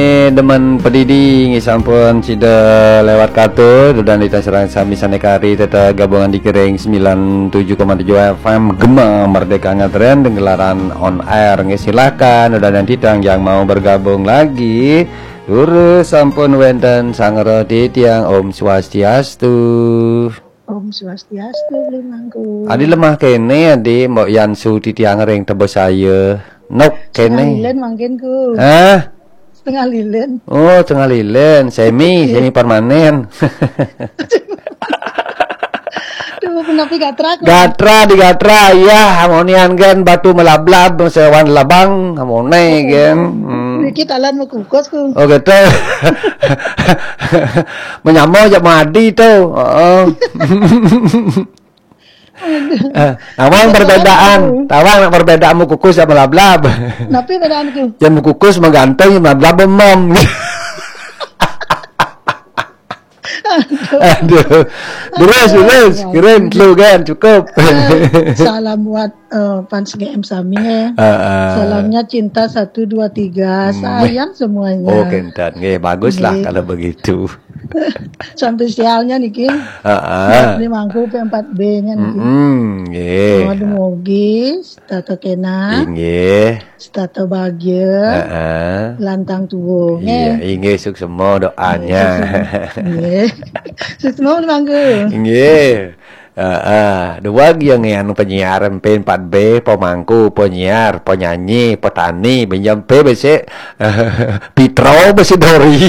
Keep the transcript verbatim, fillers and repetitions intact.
Eh, demen pedidi nggih sampun sida lewat katur dan dita serang sami sane kari tetep gabungan di Kering sembilan tujuh koma tujuh F M Gema Merdeka Ngatren dengan gelaran on air nggih, silakan udah nanti tang yang mau bergabung lagi. Durus sampun wenten sangra titiang. Om Swastiastu. Om Swastiastu, Beli Mangku. Adi lemah kene, adi mbok Yansu titiang ring tebus saya. Nok kene. Setengah lilin mangkin ku. Hah? Setengah lilin. Oh, setengah lilin, semi, semi permanen. Duh, kenapa gatra ku? Gatra di gatra, iya, amonian gen batu melablab, sewan labang, amone gen. Hmm. Niki talan mau kukus ku. Oh, gitu. Menyamo aja madi tuh. Heeh. Eh, tawang perbedaan, tawang nak perbedaan mau kukus sama lablab. Napi bedaan ku? Yang mau kukus menggantung, yang lablab bemam. Aduh. Terus, terus, keren, lu kan cukup. Salam buat eh, fans G M sami ya. Heeh. Salamnya cinta satu dua tiga, sayang semuanya. Oh, kenten. Nggih, baguslah kalau begitu. Sampai sialnya niki. Heeh. Ini mangku P empat B-nya niki. Mm-mm, nggih. Aduh, mogi, setata kena, inggih, setata bahagia, heeh, lantang tua, iya, nggih, inggih, suksema doanya. Nggih. Suksema mangku. Nggih. Heeh, dua yang anu penyiar M P empat B, pemangku, penyiar, penyanyi, petani, pinjam P besik, Pitro besik Dori.